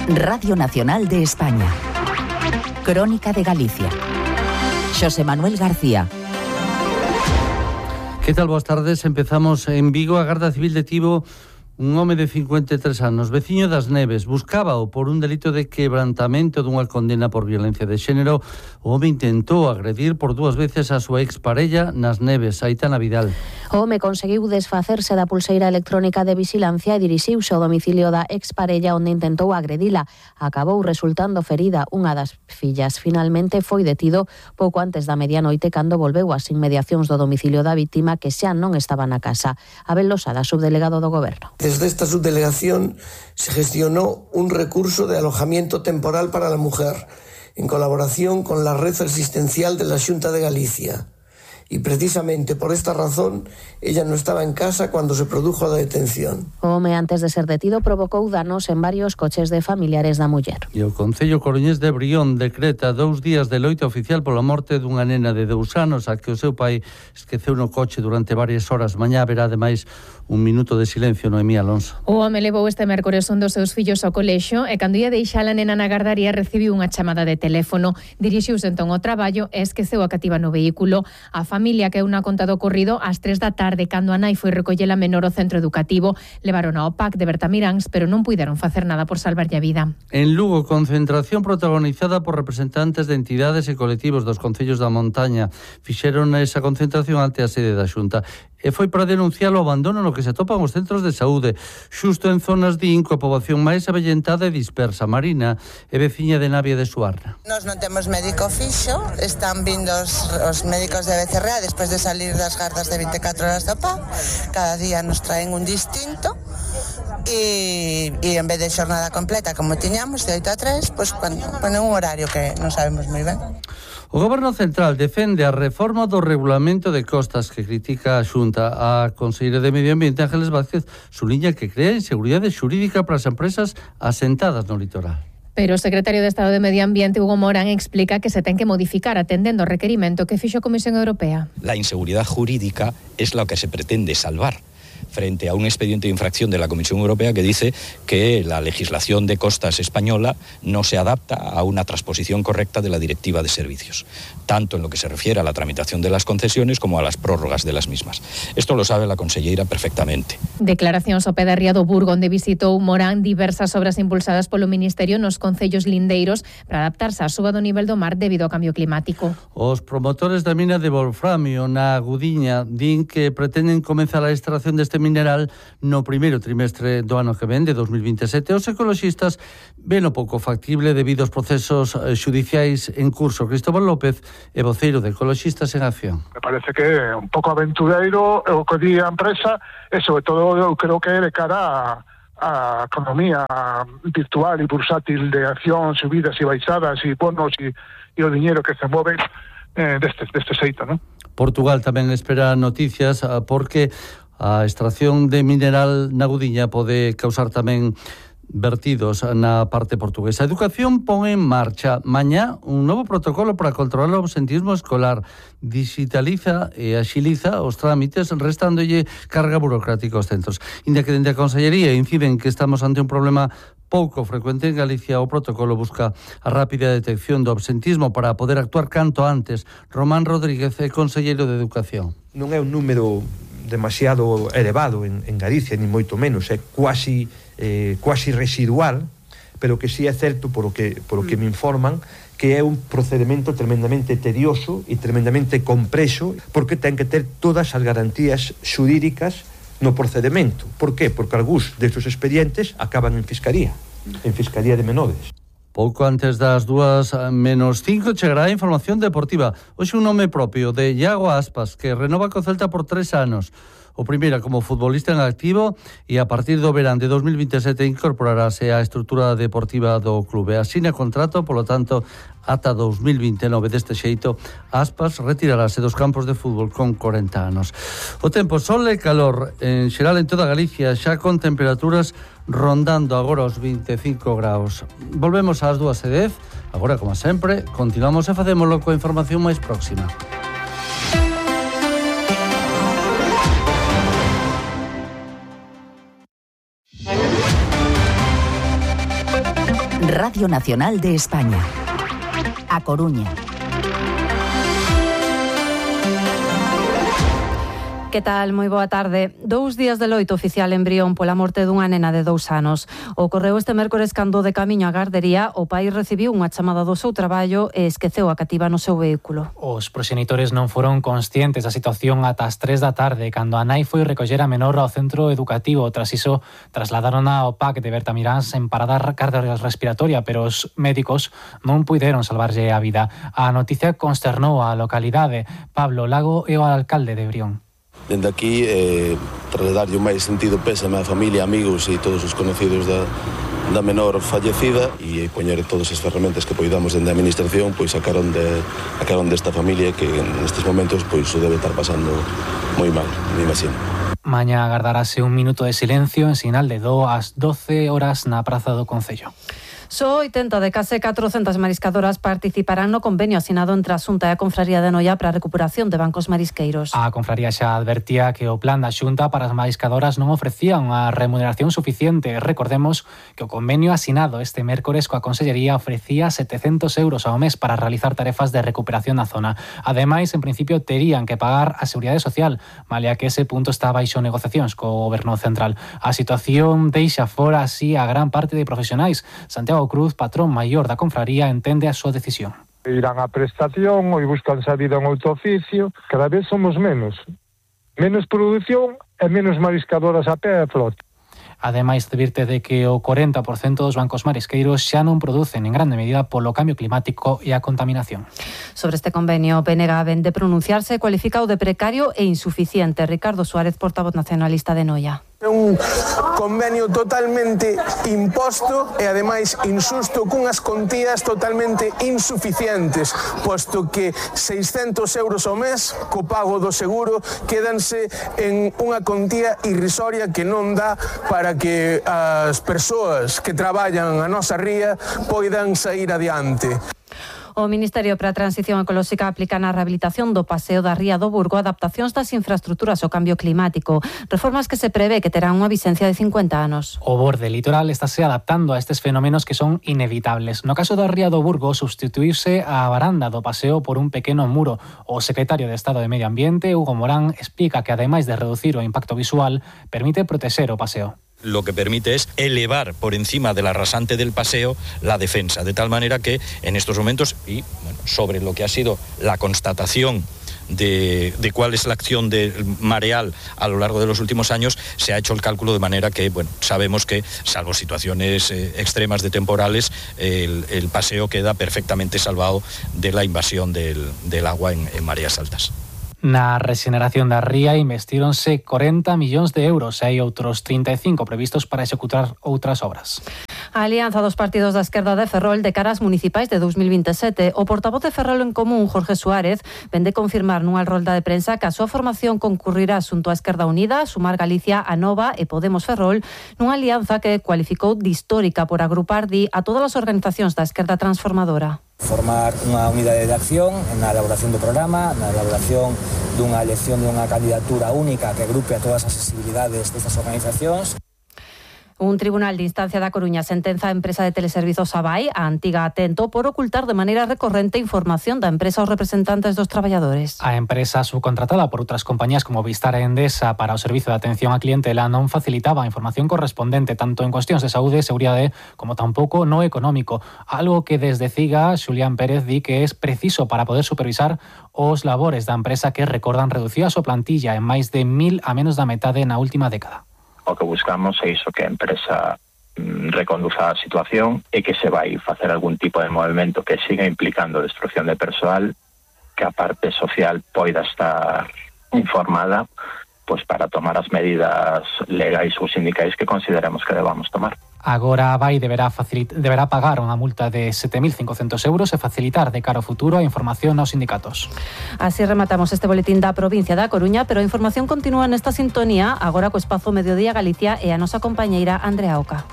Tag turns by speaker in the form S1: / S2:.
S1: Radio Nacional de España. Crónica de Galicia. Xosé Manuel García.
S2: Que tal? Boas tardes. Empezamos en Vigo. A Garda Civil detivo un home de 53 anos, veciño das Neves. Buscábao por un delito de quebrantamento dunha condena por violencia de xénero. O home intentou agredir por 2 veces a súa exparella nas Neves, Aitana Vidal.
S3: O home conseguiu desfacerse da pulseira electrónica de vixilancia e dirixiuse ao domicilio da exparella onde intentou agredila. Acabou resultando ferida unha das fillas. Finalmente foi detido pouco antes da medianoite cando volveu ás inmediacións do domicilio da vítima que xa non estaba na casa. Abel Losada, subdelegado do Goberno.
S4: Desde esta subdelegación se gestionó un recurso de alojamiento temporal para la mujer, en colaboración con la red asistencial de la Xunta de Galicia. Y precisamente por esta razón ella no estaba en casa cuando se produjo la detención.
S3: O home, antes de ser detido, provocou danos en varios coches de familiares da muller.
S2: E o Concello Coruñés de Brión decreta 2 días de loito oficial pola morte dunha nena de 2 anos a que o seu pai esqueceu no coche durante varias horas. Mañá haberá ademais un minuto de silencio, Noemí Alonso.
S5: O home levou este mércores un dos seus fillos ao colexio e cando ia deixar a nena na gardaría recibiu unha chamada de teléfono. Dirixiuse entón ao traballo e esqueceu a cativa no vehículo. A familia que unha conta do ocorrido ás 3 da tarde cando a nai foi recollela menor ao centro educativo. Levaron ao PAC de Bertamiráns, pero non puideron facer nada por salvarlle a vida.
S2: En Lugo, concentración protagonizada por representantes de entidades e colectivos dos concellos da montaña. Fixeron esa concentración ante a sede da Xunta. E foi para denunciar o abandono no que se atopan os centros de saúde, xusto en zonas de coa poboación máis avellentada e dispersa. Marina é veciña de Navia de Suarna.
S6: Nós non temos médico fixo, están vindo os médicos de BCRA despois de salir das gardas de 24 horas do PA, cada día nos traen un distinto e en vez de xornada completa como tiñamos de 8 a 3, pois ponen un horario que non sabemos moi ben.
S2: O Goberno Central defende a reforma do regulamento de costas que critica a Xunta. A conselleira de Medio Ambiente, Ángeles Vázquez, suliña que crea inseguridade xurídica para as empresas asentadas no litoral.
S5: Pero o secretario de Estado de Medio Ambiente, Hugo Morán, explica que se ten que modificar atendendo ao requerimento que fixo a Comisión Europea.
S7: La inseguridad jurídica es lo que se pretende salvar frente a un expediente de infracción de la Comisión Europea que dice que la legislación de costas española no se adapta a una transposición correcta de la Directiva de Servicios, tanto en lo que se refiere a la tramitación de las concesiones como a las prórrogas de las mismas. Esto lo sabe la conselleira perfectamente.
S5: Declaracións ao pé da ría do Burgo, onde visitou Morán diversas obras impulsadas polo Ministerio nos concellos lindeiros para adaptarse á suba do nivel do mar debido ao cambio climático.
S2: Os promotores da mina de wolframio na Agudiña din que pretenden comenzar a extracción deste mineral no primeiro trimestre do ano que ven, de 2027. Os ecoloxistas ven o pouco factible debido aos procesos xudiciais en curso. Cristóbal López é voceiro de Ecoloxistas en Acción.
S8: Me parece que é un pouco aventureiro o que di a empresa e, sobre todo, eu creo que é de cara a economía virtual e bursátil de acción, subidas e baixadas e bonos e o diñeiro que se move deste xeito, non?
S2: Portugal tamén espera noticias porque a extracción de mineral na Agudiña pode causar tamén vertidos na parte portuguesa. A Educación pon en marcha mañá un novo protocolo para controlar o absentismo escolar. Digitaliza e axiliza os trámites, restándolle carga burocrática aos centros. Inda que dende a Consellería inciden que estamos ante un problema pouco frecuente en Galicia, o protocolo busca a rápida detección do absentismo para poder actuar canto antes. Román Rodríguez é conselleiro de Educación.
S9: Non é un número demasiado elevado en Galicia, ni moito menos, é quasi residual, pero que sí é certo por o que me informan que é un procedimento tremendamente tedioso e tremendamente complexo, porque ten que ter todas as garantías xurídicas no procedimento. Por qué? Porque algúns destes expedientes acaban en Fiscalía de Menores.
S2: Pouco antes das 2:05 chegará a información deportiva. Hoxe un nome propio de Iago Aspas, que renova co Celta por 3 anos. O primeiro como futbolista en activo e a partir do verán de 2027 incorporarase á estrutura deportiva do clube. Asina contrato, polo tanto, ata 2029. Deste xeito, Aspas retirarase dos campos de fútbol con 40 anos. O tempo, sol e calor en xeral en toda Galicia, xa con temperaturas rondando agora os 25 graus. Volvemos ás 2:10. Agora, como sempre, continuamos e facémoslo coa información máis próxima.
S1: Radio Nacional de España. A Coruña.
S10: Que tal? Moi boa tarde. 2 días de loito oficial en Brión pola morte dunha nena de 2 anos. Ocorreu este mércores cando de camiño á gardería o pai recibiu unha chamada do seu traballo e esqueceu a cativa no seu vehículo.
S11: Os proxenitores non foron conscientes da situación ata as 3 da tarde, cando a nai foi recoller a menor ao centro educativo. Tras iso, trasladárona ao PAC de Bertamiráns en parada cardiorrespiratoria, pero os médicos non puideron salvarlle a vida. A noticia consternou a localidade. Pablo Lago é o alcalde de Brión.
S12: Dende aquí, trasladarlle o máis sentido pésame á familia, amigos e todos os conocidos da menor fallecida e poñer todas as ferramentas que poidamos dende a administración pois a carón desta familia que nestes momentos pois o debe estar pasando moi mal, me imagino.
S11: Mañá agardarase un minuto de silencio en sinal de do ás 12 horas na Praza do Concello.
S10: Só 80 de case 400 mariscadoras participarán no convenio asinado entre a Xunta e a Confraría de Noia para a recuperación de bancos marisqueiros.
S11: A Confraría xa advertía que o plan da Xunta para as mariscadoras non ofrecía unha remuneración suficiente. Recordemos que o convenio asinado este mércores coa Consellería ofrecía 700 euros ao mes para realizar tarefas de recuperación na zona. Ademais, en principio, terían que pagar a Seguridade Social, malia que ese punto está baixo negociacións co Goberno Central. A situación deixa fora así a gran parte de profesionais. Santiago Cruz, patrón maior da confraría, entende a súa decisión.
S13: Irán a prestación ou buscan salida en outro oficio. Cada vez somos menos. Menos produción e menos mariscadoras a pé e flota.
S11: Ademais, advirte de que o 40% dos bancos marisqueiros xa non producen en grande medida polo cambio climático e a contaminación.
S10: Sobre este convenio, o PNG vén de pronunciarse, cualificado de precario e insuficiente. Ricardo Suárez, portavoz nacionalista de Noia.
S14: É un convenio totalmente imposto e ademais insusto cunhas contías totalmente insuficientes, posto que 600 euros ao mes co pago do seguro quédanse en unha contía irrisoria que non dá para que as persoas que traballan a nosa ría poidan sair adiante.
S10: O Ministerio para a Transición Ecolóxica aplica na rehabilitación do Paseo da Ría do Burgo adaptacións das infraestruturas ao cambio climático, reformas que se prevé que terán unha vigencia de 50 anos.
S11: O borde litoral estáse adaptando a estes fenómenos que son inevitables. No caso da Ría do Burgo, substituirse a baranda do paseo por un pequeno muro. O secretario de Estado de Medio Ambiente, Hugo Morán, explica que ademais de reducir o impacto visual, permite protexer o paseo.
S7: Lo que permite es elevar por encima de la rasante del paseo la defensa, de tal manera que en estos momentos, y bueno, sobre lo que ha sido la constatación de cuál es la acción del mareal a lo largo de los últimos años, se ha hecho el cálculo de manera que, bueno, sabemos que, salvo situaciones extremas de temporales, el paseo queda perfectamente salvado de la invasión del agua en mareas altas.
S11: Na rexeneración da ría investíronse 40 millóns de euros e hai outros 35 previstos para executar outras obras.
S10: A alianza dos partidos da esquerda de Ferrol de cara ás municipais de 2027. O portavoz de Ferrol en Común, Jorge Suárez, vén de confirmar nunha rolda de prensa que a súa formación concurrirá xunto á Esquerda Unida, Sumar Galicia, Anova e Podemos Ferrol, nunha alianza que cualificou de histórica por agrupar a todas as organizacións da esquerda transformadora.
S15: Formar unha unidade de acción na elaboración do programa, na elaboración dunha elección dunha candidatura única que agrupe a todas as sensibilidades destas organizacións.
S10: Un tribunal de instancia da Coruña sentenza a empresa de teleservizos Abai, a antiga Atento, por ocultar de maneira recorrente información da empresa aos representantes dos traballadores.
S11: A empresa subcontratada por outras compañías como Vistar e Endesa para o servizo de atención á clientela non facilitaba a información correspondente tanto en cuestións de saúde e seguridade como tampouco no económico, algo que desde CIGA Xulián Pérez di que é preciso para poder supervisar os labores da empresa que, recordan, reducía a súa plantilla en máis de 1.000 a menos da metade na última década.
S16: O que buscamos é iso, que a empresa reconduza a situación e que se vai facer algún tipo de movimento que siga implicando destrucción de persoal, que a parte social poida estar informada pois para tomar as medidas legais ou sindicais que consideremos que debamos tomar.
S11: Agora a Abai deberá pagar unha multa de 7.500 euros e facilitar de cara ao futuro a información aos sindicatos.
S10: Así rematamos este boletín da provincia da Coruña, pero a información continúa nesta sintonía agora co espazo Mediodía Galicia e a nosa compañeira Andrea Oca.